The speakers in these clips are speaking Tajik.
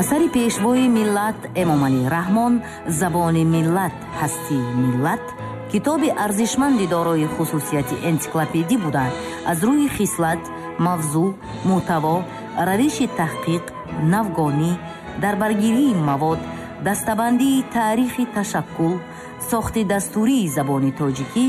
Асари Пешвои миллат Эмомалӣ Раҳмон «Забони миллат, ҳастии миллат» китоби арзишманди дорои хусусияти энсиклопедӣ буда, аз рӯи хислат, мавзӯъ, мӯҳтаво, равиши таҳқиқ, навгонӣ, дарбаргирии мавод, дастабандии таърихи ташаккул, сохти дастурии забони тоҷикӣ,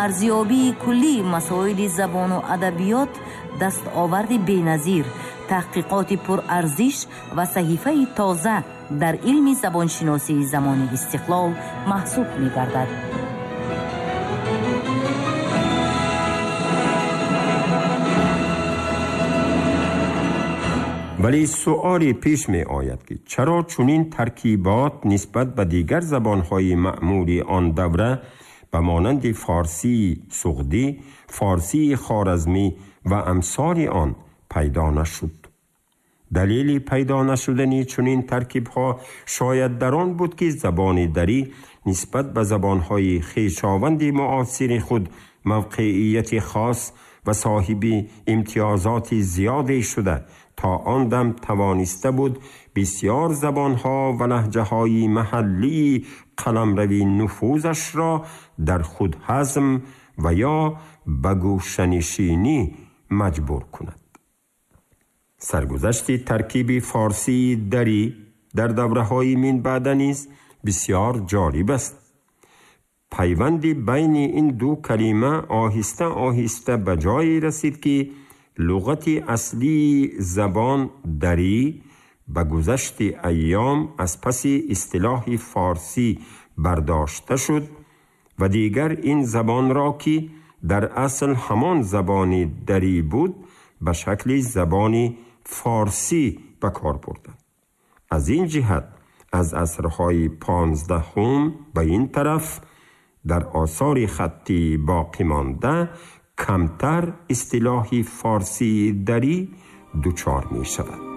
арзёбии куллии масоили забону адабиёт дастоварди беназир, таҳқиқоти пурарзиш ва саҳифаи тоза дар илми забоншиносии замони истиқлол маҳсуб мегардад. Вале суоле пеш می آید که چرا چنین ترکیبات نسبت به دیگر زبانهای معمولی آن دوره به مانند فارسی سغدی، فارسی خوارزمی و امثال آن پیدا نشد؟ دلیل پیدا نشدن چنین ترکیبها شاید در آن بود که زبان دری نسبت به زبانهای خویشاوند معاصر خود موقعیت خاص و صاحب امتیازات زیادی شده تا آن دم توانسته بود بسیار زبانها و لهجه‌های محلی قلمروی نفوذش را در خود هضم و یا به گوشه‌نشینی مجبور کند. سرگذشت ترکیب فارسی دری در دوره‌های من بعد نیز بسیار جالب است. پیوند بین این دو کلمه آهسته آهسته به جایی رسید که لغت اصلی زبان دری به گذشت ایام از پس اصطلاح فارسی برداشته شد و دیگر این زبان را که در اصل همان زبان دری بود به شکل زبان فارسی به کار بردند. از این جهت از عصرهای 15 به این طرف در آثار خطی باقی مانده کمتر اصطلاح فارسی دری دچار می شود.